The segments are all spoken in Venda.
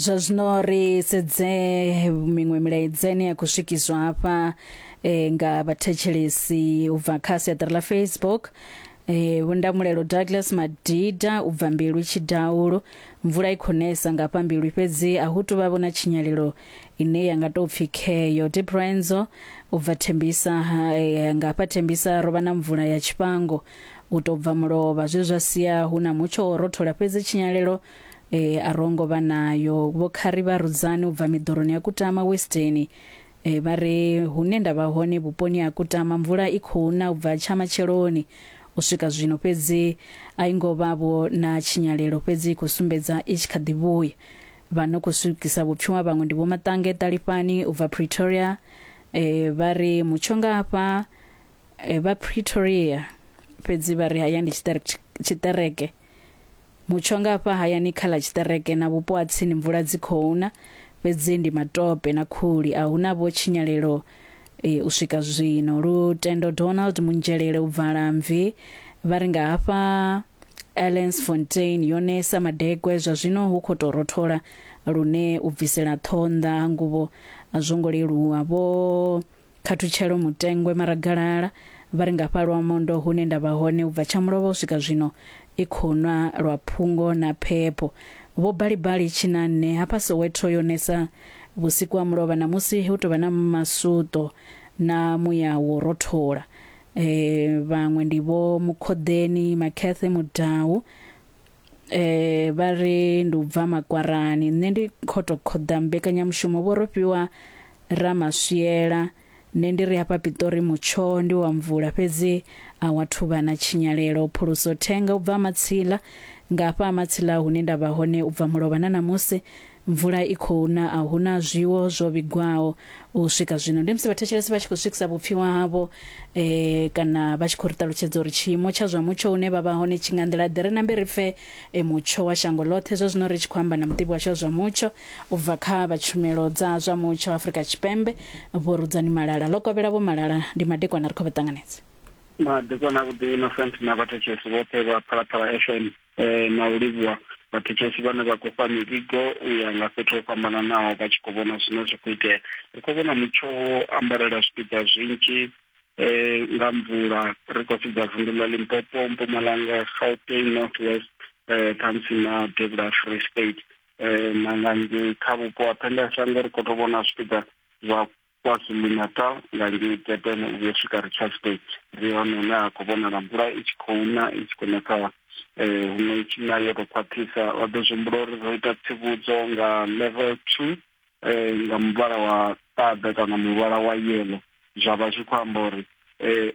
Zwa zwino ri sedze miṅwe milaedza ine ya khou swikiswa hafha nga vhathetshelesi u bva kha siaṱari ḽa Facebook. Vho Ndamulelo Douglas Madida u bva Mbilwi Tshidaulo, mvula i khou nesa nga hafha Mbilwi fhedzi a hu tuvha vho na tshinyalelo ine ya nga tou pfi kheyo. Diprenzo u bva Thembisa, nga hafha Thembisa ro vha na mvula ya tshifhango u tou bva mulovha zwe zwa sia hu na mutsho wo rothola fhedzi tshinyalelo a ro ngo vha nayo. Vho Khari vha Rudzani u bva miḓoroni ya Kutama Western vha ri hune nda vha hone vhuponi ha Kutama mvula i khou na u bva tsha matsheloni u swika zwino fhedzi a i ngo vha vho na tshinyalelo fhedzi i khou sumbedza i tshi kha ḓi vhuya. Vha no khou swikisa vhupfiwa vhaṅwe ndi Vho Maṱange Ṱalifhani u bva Pretoria vha ri mutsho nga hafha vha Pretoria fhedzi vha ri haya ndi tshiṱereke. Mutsho nga hafha hayani kha ḽa tshiṱereke na vhupo ha tsini mvula dzi khou na fhedzi ndi matope na khuli a huna vho tshinyalelo u swika zwino. Lutendo Donald Munzhelele u bva Lamvi vha ri nga hafha Allensfontein yo nesa madekwe zwa zwino hu khou tou rothola lune u bvisela ṱhoho nnḓa ha nguvho a zwo ngo leluwa. Vho Khathutshelo Mutengwe Maragalala vha ri nga fha Lwamondo hune nda vha hone u bva tsha mulovha u swika zwino i khou nwa lwa phungo na phepho. Vho Balibali Tshinanne hafha Soweto yo nesa vhusiku ha mulovha namusi hu tou vha na masuṱo na muya wo rothola. Vhaṅwe ndi Vho Mukhoḓeni Makhethe Mudau vha ri ndi u bva Makwarani nṋe ndi kho to khoḓa mbekanyamushumo vho Rofhiwa Ramaswiela. Nṋe ndi ri hafha Pitori mutsho ndi wa mvula fhedzi a wa thuvha na tshinyalelo. Phuluso Thenga u bva Matsila nga hafha Matsila hune nda vha hone u bva mulovha na namusi mvula i khou na a huna zwiwo zwo vhigwaho u swika zwino. Ndi musi vhathetshelesi vha tshi khou swikisa vhupfiwa havho kana vha tshi khou ri ṱalutshedza uri tshiimo tsha zwa mutsho hune vha vha hone tshi nga nḓila ḓe. Ri nambe ri pfe mutsho wa shango ḽoṱhe zwa zwino ri tshi khou amba na muḓivhi washu wa zwa mutsho u bva kha vha tshumelo dza zwa mutsho Afrika Tshipembe Vho Rudzani Malala. Ḽo kovhela Vho Malala, ndi madekwana ri khou vha ṱanganedza. Madekwana avhuḓi Innocent na vhathetshelesi vhoṱhe vha Phalaphala FM na u livhuwa vhathetshelesi vhane vha khou fha mivhigo u ya nga fhethu ho fhambananaho vha tshi khou vhona zwine zwa khou itea. Ri khou vhona mutsho wo ambarela zwipiḓa zwinzhi nga mvula ri khou sedza vunḓu ḽa Limpopo, Mpumalanga, Gauteng, North West khamusi na Devhula Free State na nga ngei kha vhupo ha phendelashango ri khou tou vhona zwipiḓa zwa KwaZulu-Natal nga ngei Durban u vhuya u swika Richards Bay. Ndi hone hune ha khou vhonala mvula i tshi khou na i tshi khou na kha huṅwe i tshi na yo tou khwaṱhisa. Vha ḓo zwi humbula uri ro ita tsivhudzo nga level 2 nga muvhala wa ṱaḓa kana muvhala wa yellow zwa vha zwi khou amba uri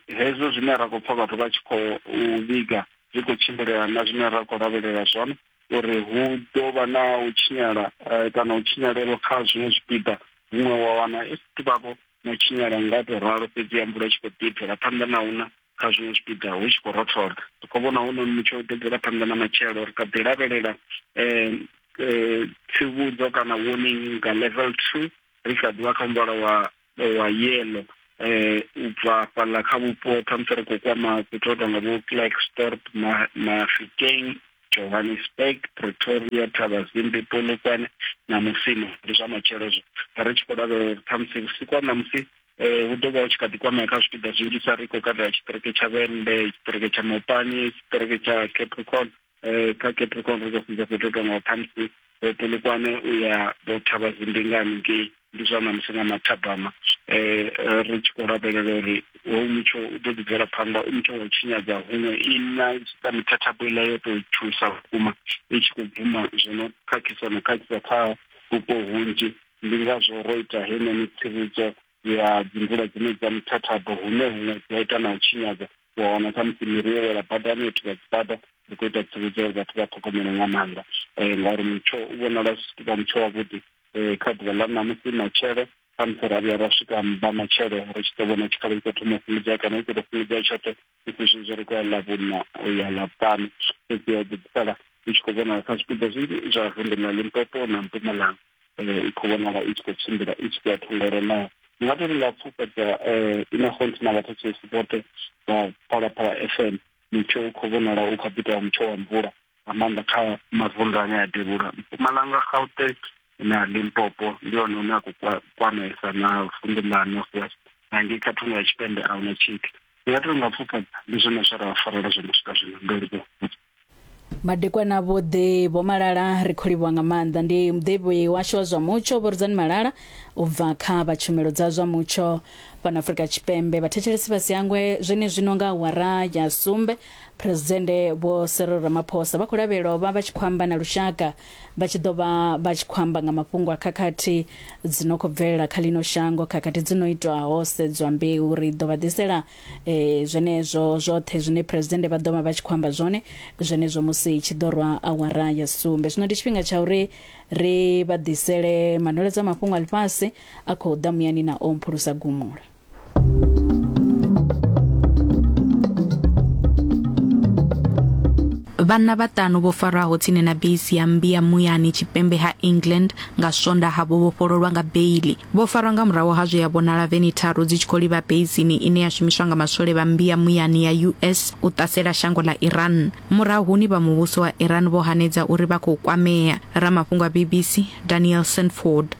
hezwo zwine ra khou pfa vhathu vha tshi khou vhiga zwi khou tshimbilelana na zwine ra khou lavhelela zwone uri hu ḓo vha na u tshinyala kana u tshinyalelo kha zwiṅwe zwipiḓa huṅwe wa wana i si vhavho no tshinyala nga to ralo fhedzi ya mvula i tshi khou ḓi bvela phanḓa na una kha zwiṅwe zwipiḓa hu tshi khou rothola. Ri khou vhona hu noni mutsho u ḓo bvela phanḓa na matshelo ri kha ḓi lavhelela tsivhudzo kana warning nga level 2 ri kha ḓivha kha muvhala wa wa yellow u bva fhaḽa kha vhupo khamusi ri khou kwama fhethu ho tonga vho Klerksdorp, Mafikeng, Johannesburg, Pretoria, Thabazimbi, Polokwane na Musina. Ndi zwa matshelo hezwo ri tshi khou lavhelela uri khamusi vhusiku ha ṋamusi hu ḓo vha hu tshi kha ḓi kwamea kha zwipiḓa zwinzhi sa ri khou katela tshiṱiriki tsha Vhembe, tshiṱiriki tsha Mopani, tshiṱiriki tsha Capricorn. Kha Capricorn ri khou sedza fhethu ho tongaho khamusi Polokwane u ya vho Thabazimbi nga haningei. Ndi zwa ṋamusi nga mathabama ri tshi khou lavhelela uri hoyu mutsho u ḓo ḓi bvela phanḓa u mutsho wa u tshinyadza huṅwe i na ita mithathabo iḽa yo tou tshuwisa vhukuma i tshi khou bvuma zwo no khakhisa no khakhisa kha vhupo hunzhi. Ndi ngazwo ro ita heinoni tsivhudzo ya dzimvula dzine dza mithathabo hune huṅwe dzi a ita na u tshinyadza wa wana khamusi miri yo wela badani yo thivha dzibada. Ri khou ita tsivhudzo uri vhathu vha ṱhogomele nga maanḓa ngauri mutsho u vhonala u si vha mutsho wavhuḓi kha ḓuvha ḽa ṋamusi matshelo khamusi ra vhuya ra swika vha matshelo ri tshi ḓo vhona tshikhala i khou thoma u fhungudzea kana i khou tou fhungudzea tshoṱhe i zwezwi ri khou ya Ḽavhuṋa u ya Ḽavhuṱanu. Fhedzi ya ḓo ḓi sala i tshi khou vhonala kha zwipiḓa zwinzhi zwa vunḓu ḽa Limpopo na Mpumalanga i khou vhonala i tshi khou tshimbila i tshi khou ya thungo ro naho. Ndi nga tou ri nga pfufhadza Innocent na vhathetshelesi vhoṱhe vha Phalaphala FM mutsho u khou vhonala u kha ḓi tou vha mutsho wa mvula nga maanḓa kha mavunḓu ane a devhula Mpumalanga, Gauteng, na Limpopo ndi hone hune a khou kwamesa na vunḓu ḽa North West na ngei kha thungo ya tshipembe a huna tshithu. Ndi nga tou nga pfufha ndi zwone zwe ra vha farela zwone u swika zwino. Ndo livhuwa. Madekwana avhuḓi Vho Malala, ri khou livhuwa nga maanḓa. Ndi muḓivhi washu wa zwa mutsho Vho Rudzani Malala u bva kha vha tshumelo dza zwa mutsho fhano Afrika Tshipembe. Vhathetshelesi vha si hangwe zwenezwino nga awara ya sumbe Phresidennde Vho Cyril Ramaphosa vha khou lavhelelwa u vha vha tshi khou amba na lushaka vha tshi ḓo vha vha tshi khou amba nga mafhungo a khakhathi dzi no khou bvelela kha ḽino shango, khakhathi dzi no itwa ho sedzwa mbeu. Ri ḓo vha ḓisela e, zwenezwo zwoṱhe zwine Phresidennde vha ḓo vha vha tshi khou amba zwone zwenezwo musi tshi ḓo rwa awara ya sumbe. Zwino ndi tshifhinga tsha uri ri vha ḓisele manweledzo a mafhungo a ḽifhasi a khou ḓa muyani na o mphulusa gumula. Vhanna vhaṱanu vho farwaho tsini na beisi ya mmbi ya muyani tshipembe ha England nga Swondaha vho vhofhololwa nga beiḽi. Vho farwa nga murahu ha zwe ya vhonala veni tharu dzi tshi khou livha beisini ine ya shumiswa nga maswole vha mmbi ya muyani ya US u ṱasela shango ḽa Iran. Murahuni vha muvhuso wa Iran vho hanedza uri vha khou kwamea. Ramafhungo a BBC Daniel Sanford.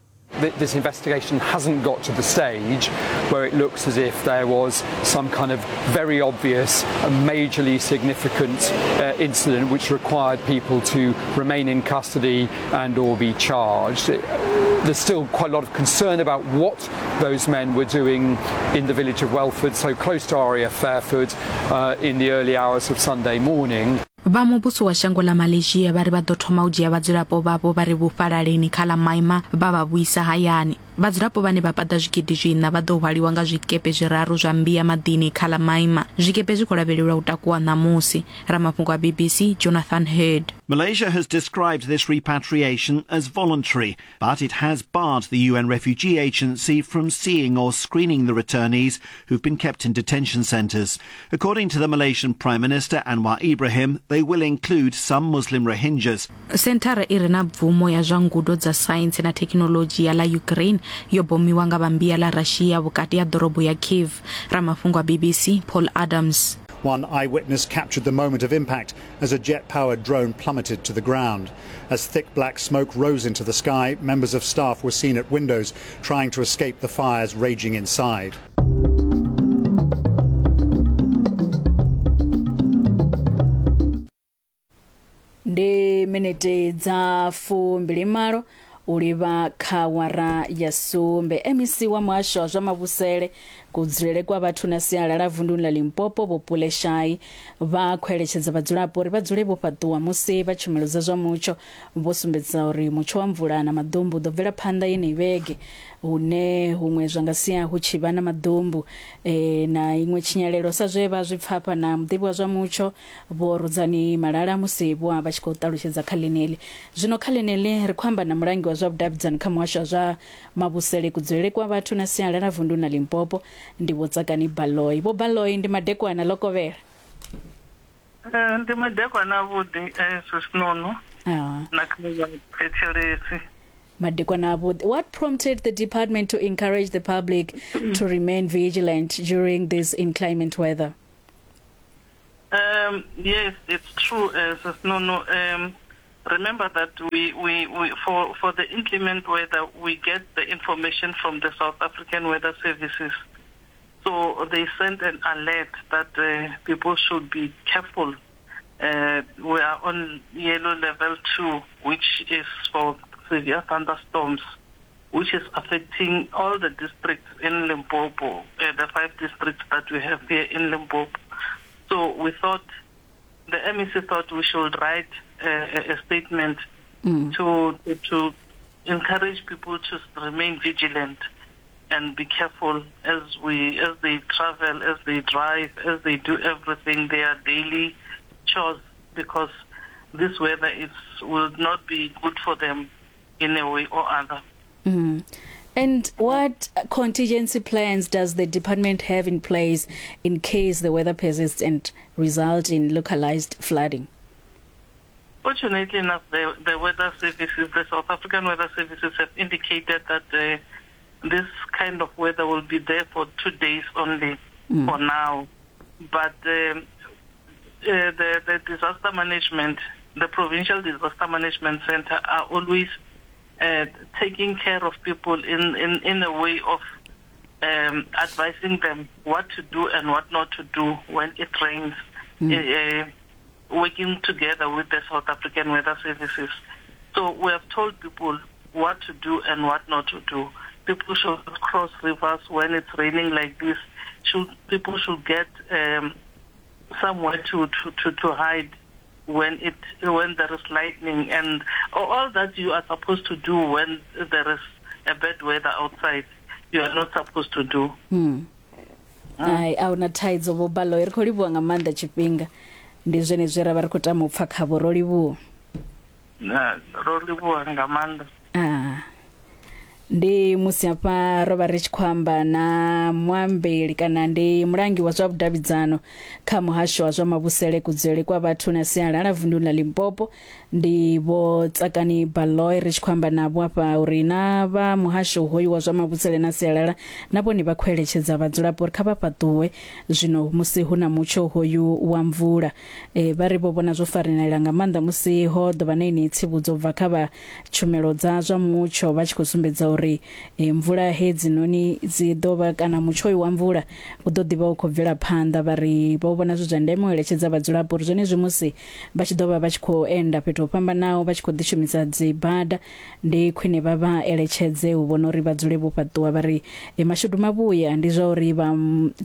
This investigation hasn't got to the stage where it looks as if there was some kind of very obvious and majorly significant uh, incident which required people to remain in custody and or be charged. There's still quite a lot of concern about what those men were doing in the village of Welford, so close to RAF Fairford, uh, in the early hours of Sunday morning. Vha muvhuso wa shango ḽa Malaysia vha ri vha ḓo thoma u dzhia vhadzulapo vhavho vha re vhufhalaleni kha ḽa Myanmar vha vha vhuisa hayani. Vhadzulapo vhane vha paḓa zwigidi zwiṋa vha ḓo hwaliwa nga zwikepe zwiraru zwa mmbi ya maḓini kha ḽa Myanmar. Zwikepe zwi khou lavhelelwa u takuwa ṋamusi. Ramafhungo a BBC Jonathan Heard. Malaysia has described this repatriation as voluntary, but it has barred the UN Refugee Agency from seeing or screening the returnees who've been kept in detention centres. According to the Malaysian Prime Minister Anwar Ibrahim, they will include some Muslim Rohingyas. Senthara i re na bvumo ya zwa ngudo dza saintsi na thekhinoḽodzhi ya ḽa Ukraine yo bomiwa nga vha mmbi ya ḽa Russia vhukati ha ḓorobo ya Kyiv. Ramafhungo a BBC Paul Adams. One eyewitness captured the moment of impact as a jet-powered drone plummeted to the ground. As thick black smoke rose into the sky, members of staff were seen at windows trying to escape the fires raging inside. Ndi minete dza 28 u livha kha wara ya sumbe. MEC wa muhasho wa zwa mavhusele, kudzulele kwa vhathu na sialala vunduni ḽa Limpopo Vho Pule Shai vha khou eletshedza vhadzulapo uri vha dzule vho fhaṱuwa musi vha tshumelo dza zwa mutsho vho sumbedzisa uri mutsho wa mvula na maḓumbu u ḓo bvela phanḓa yeneyi vhege hune huṅwe zwa nga sia hu tshi vha na maḓumbu e, na iṅwe tshinyalelo sa zwe vha zwi pfa hafha na muḓivhi wa zwa mutsho Vho Rudzani Malala musi vho vha tshi khou ṱalutshedza kha ḽeneḽi. Zwino kha ḽeneḽi ri khou amba na mulangi wa zwa vhudavhidzani kha muhasho wa zwa mavhusele, kudzulele kwa vhathu na sialala vunduni ḽa Limpopo, ndi Vho Tsakani Baloyi. Vho Baloyi, ndi madekwana ḽo kovhela. Eh, ndi madekwana avhuḓi eh, Sisinono Ah. na kha vhathetshelesi. Madekwana avhuḓi. What prompted the department to encourage the public to remain vigilant during this inclement weather? Um, yes, it's true, uh, Sisinono. Um, remember that we, we, we for, for the inclement weather, we get the information from the South African Weather Services. So they sent an alert that uh, people should be careful. Uh, we are on yellow level 2, which is for severe thunderstorms, which is affecting all the districts in Limpopo, uh, the five districts that we have here in Limpopo. So we thought, the MEC thought we should write a, a statement mm. to, to encourage people to remain vigilant and be careful as we as they travel, as they drive, as they do everything, their daily chores, because this weather is will not be good for them in a way or other. Mm. And what contingency plans does the department have in place in case the weather persists and result in localized flooding? Fortunately enough, the, the weather services, the South African weather services have indicated that uh, this kind of weather will be there for two days only mm. for now. But um, uh, the, the disaster management, the provincial disaster management center are always uh, taking care of people in, in, in a way of um, advising them what to do and what not to do when it rains, mm. uh, working together with the South African Weather Services. So we have told people what to do and what not to do. People should cross rivers when it's raining like this. Should, people should get um, somewhere to, to, to, to hide when it when there is lightning and all that you are supposed to do when there is a bad weather outside you are not supposed to do. Mm. Ai a huna thaidzo vho Baloyi, ri khou livhuwa nga maanḓa tshifhinga. Ndi zwenezwi ra vha ri khou tama u pfa khavho, ro livhuwa. Na ro livhuwa nga maanḓa. Ah. Ndi musi hafha ro vha ri tshi khou amba na muambeli kana ndi mulangi wa zwa vhudavhidzano kha muhasho wa zwa mavhusele kudzulele kwa vhathu na sialala vunduni ḽa Limpopo ndi Vho Tsakani Baloyi ri tshi khou amba navho afha uri na vha muhasho hoyu wa zwa mavhusele na sialala na vhone vha khou eletshedza vhadzulapo uri kha vha fhaṱuwe zwino musi hu na mutsho hoyu wa mvula. E, vha ri vho vhona zwo farelela nga maanḓa musi ho ḓo vha na yeneyi tsivhudzo bva kha vha tshumelo dza zwa mutsho vha tshi khou sumbedza uri e, mvula hedzinoni dzi ḓo vha kana mutsho hoyu wa mvula u ḓo ḓivha u khou bvela phanḓa. Vha ri vho vhona zwi zwa ndeme u eletshedza vhadzulapo uri zwenezwi musi vha tshi ḓo vha vha tshi khou enda fhethu ho fhambanaho vha tshi khou ḓi shumisa dzi bada ndi khwine vha vha eletshedze u vhona uri vha dzule vho fhaṱuwa. Vha ri e, mashudu mavhuya ndi zwa uri vha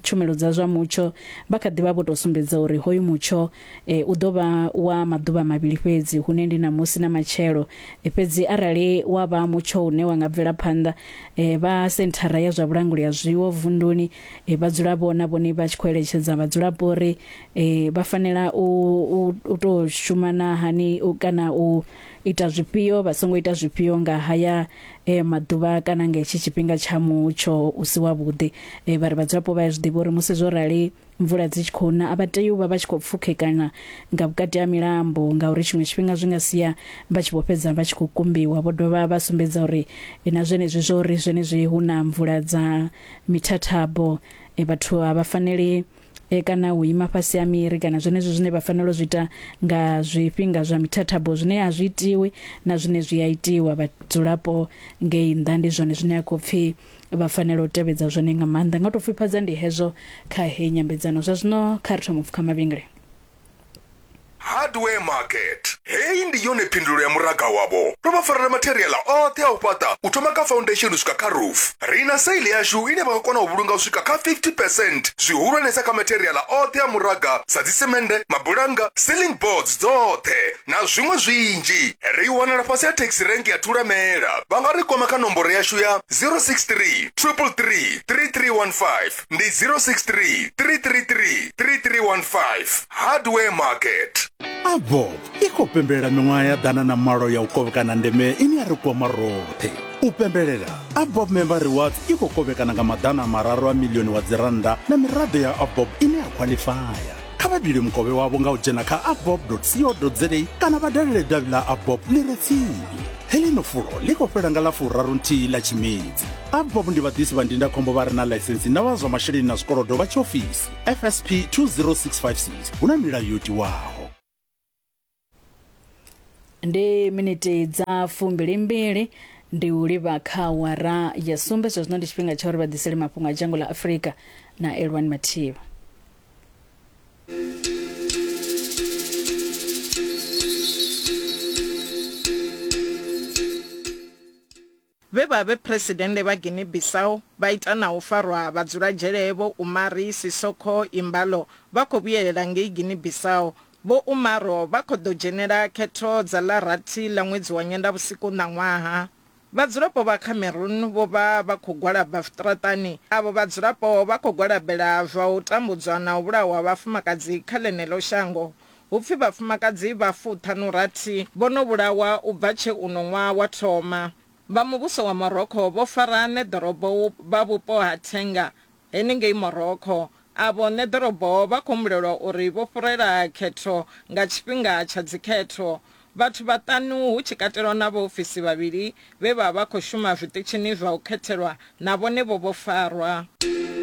tshumelo dza zwa mutsho vha kha ḓivha vho tou sumbedza uri hoyu mutsho e, u ḓo vha wa maḓuvha mavhili fhedzi hune ndi ṋamusi na matshelo e, fhedzi arali wa vha mutsho une wa nga bvela phanḓa e, vha senthara ya zwa vhulanguli ha zwiwo vunduni e, vha dzula vhona vhone vha tshi khou eletshedza vhadzulapo uri e, vha fanela u, u, u tou shumana hani u, kana u ita zwifhio vha songo ita zwifhio nga haya e, maḓuvha kana nga hetshi tshifhinga tsha mutsho u si wavhuḓi. E, vha ri vhadzulapo vha ya zwi ḓivha uri musi zwo rali mvula dzi tshi khou na a vha tei u vha vha tshi khou pfukhekana nga vhukati ha milambo ngauri tshiṅwe tshifhinga zwi nga sia vha tshi vho fhedza vha tshi khou kumbiwa. Vho dovha vha sumbedza uri e, na zwenezwi zwo uri zwenezwi hu na mvula dza mithathabo e, vhathu a vha faneli e, kana u ima fhasi ha miri kana zwenezwo zwine vha fanela u zwi ita nga zwifhinga zwa mithathabo zwine a zwi itiwi na zwine zwi a itiwa vhadzulapo ngei nnḓa ndi zwone zwine a khou pfhi vha fanela u tevhedza zwone nga maanḓa. Nga u tou pfifhadza ndi hezwo kha heyi nyambedzano. Zwa zwino kha ri thoma u pfukha mavhengele. Hardware Market. Heyi ndi yone phindulo ya muraga wavho. Ro vha farela matheriaḽa oṱhe a u fhaṱa u thoma kha foundation u swika kha roof. Ri na sale yashu ine vha nga kona u vhulunga u swika kha 50 percent, zwihulwanesa kha matheriaḽa oṱhe a muraga sa dzisemende, mabulannga, ceiling boards dzoṱhe na zwiṅwe zwinzhi. Ri wanala fhasi ha taxi rank ya Thulamela. Vha nga ri kwama kha nomboro yashu ya 063 333 3315. Ndi 063 333 3315. Hardware Market. Avob i khou pembelela miṅwaha ya 108 ya u kovhekana ndeme ine ya ri kwama roṱhe. U pembelela, Avob Member Rewards i khou kovhekana nga 300 a milioni wa dzirannda na miraḓo ya Avob ine ya khwaḽifaya. Kha vha bile mukovhe wavho nga u dzhena kha avob.co.za kana vha dalele davhi ḽa Avob ḽi re tsini. Heḽino fulo ḽi khou fhela nga ḽa 31 ḽa Tshimedzi. Avob ndi vhaḓisi vha ndindakhombo vha re na ḽaisentsi na vha zwa masheleni na zwikolodo vha tshiofisi FSP 20656 hu na milayo yo tiwaho. Ndi miniti dza 22 ndi u livha kha awara ya sumbe. Zwa zwino ndi tshifhinga tsha uri vha ḓisele mafhungo a dzhango ḽa Afrika na Elwani Mathivha. Vhe vha vhe Phresidennde vha Guinea-Bissau vha ita na u farwa vha dzula dzhele Vho Umari Sissoco Embalo vha khou vhuyelela ngei Guinea-Bissau. Vho Umaro vha khou ḓo dzhenela khetho dza ḽa rathi ḽa ṅwedzi wa Nyendavhusiku ṋaṅwaha. Vhadzulapo vha Cameroon vho vha vha khou gwalaba zwiṱaraṱani. Avho vhadzulapo vha khou gwalabela zwa u tambudzwa na u vhulawa ha vhafumakadzi kha ḽeneḽo shango. Hu pfi vhafumakadzi vha fuṱhanu-rathi vho no vhulawa u bva tshe uno ṅwaha wa thoma. Vha muvhuso wa Morocco vho fara ṋeḓorobo vha vhupo ha Tanger henengei Morocco. Avho ṋeḓorobo vha khou humbulelwa uri vho fhurela khetho nga tshifhinga tsha dzikhetho. Vhathu vhaṱanu hu tshi katelwa na vhaofisi vhavhili vhe vha vha khou shuma zwiṱitshini zwa u khethelwa na vhone vho vho farwa.